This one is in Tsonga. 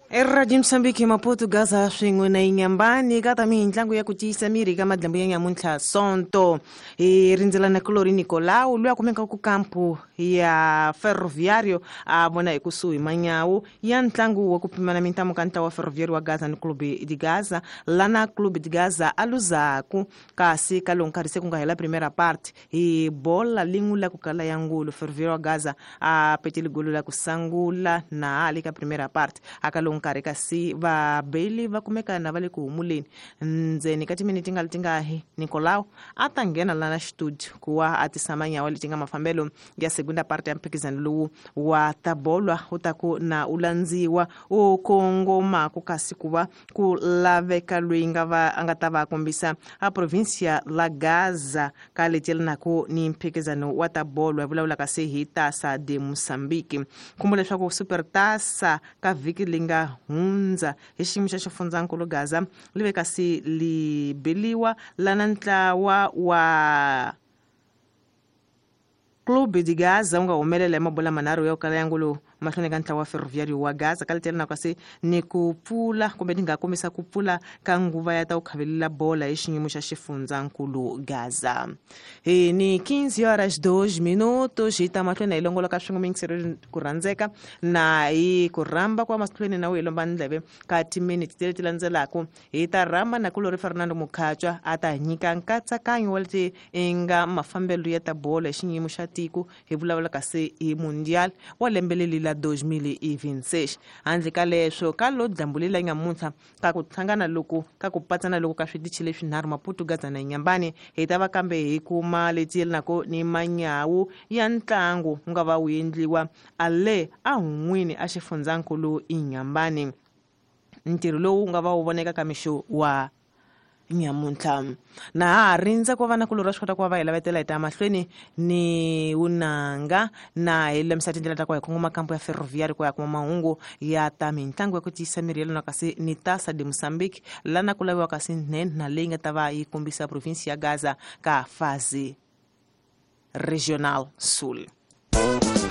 Eradio Moçambique Maputo Gaza swin'we na Inhambane ka ta mintlangu ya ku tiyisa miri ka madlambu ya nyamuntlha Sonto hi rindzela na Kulori Nicolau loyi a kumekaka ku kampu ya Ferroviário a vona ekusuhi manyawu ya ntlangu wa ku pimana mintamu ka ntlawa wa Ferroviário wa Gaza ni Clube de Gaza lana Clube de Gaza a luzaku kasi ka lowu nkarhi se ku nga hela primera parte hi bola lin'we la ku kala ya ngulu Ferroviário wa Gaza a petele golo la ku sangula na ha le ka primera parte aka lowu nkarhi kasi vabeli va kumeka na va le ku humuleni ndzeni ka timiniti nga letingahi Nicolau a ta nghena lana xitudio ku wa a tisa manyawa leti nga mafambelo ya segunda parte ya mphikizano lowu wa tabolwa wu ta ku na u landziwa u kongomaku kasi ku va ku laveka loyi nga va a nga ta va a kombisa a provincia la Gaza ka leti yelanaka ni mphikizano wa ta bolo hi vulavulaka se hi Taça de Moçambique. Khumbula leswaku Super Taça ka vhiki leyi nga hundza hi xiyimo xa xifundzankulu Gaza li ve kasi li beliwa lana ntlawa wa Clube de Gaza wu nga humelela hi mabola manharhu ya ku kala ya ngulu mahlweni ka ntlawa wa Ferroviário wa Gaza ka letela na kasi ni ku pfula kumbe ni nga kombisa ku pfula ka nguva ya ta ku khavelela bola hi xiyimo xa xifundzankulu Gaza. Hi ni 15 horas 2 minutos hi ta mahlweni hi longoloka swin'we miyingiselo ku rhandzeka na hi ku rhamba kwa mahlweni na u hi lomba ndleve ka timiniti leti landzelaka hi ta rhamba na kulori Fernando Mukhatswa a ta nyika nkatsakanyo wa leti i nga mafambelo ya ta bolo hi xiyimo xa tiko hi vulavula kasi hi mundial wa lembe leli la 2026 handle ka leswo ka lo dyambu leri la nyamuntlha ka ku hlangana loku ka ku patsana loku ka switichi leswinharhu Maputo Gaza na Inhambane hi ta va kambe hi kuma leti yelanaka ni manyawu ya ntlangu wu nga va wu endliwa a le a hun'wini a xifundzankulu Inhambane ntirho lowu wu nga va wu voneka ka mixo wa nyamuntlha na ha ha rindza ku va na kulorhi swi kota ku va va hi lavetela hi ta mahlweni ni vunanga na hi lulamisa tindlela ta ku hi kongoma kampo ya ferroviary ku ya kuma mahungu ya ta mintlangu ya ku tiyisa miri ya lona kasi ni tasa de Moçambique lana ku laviwa kasi nhenha leyi nga ta va yi kombisa provinsi ya Gaza ka fazi regional sul.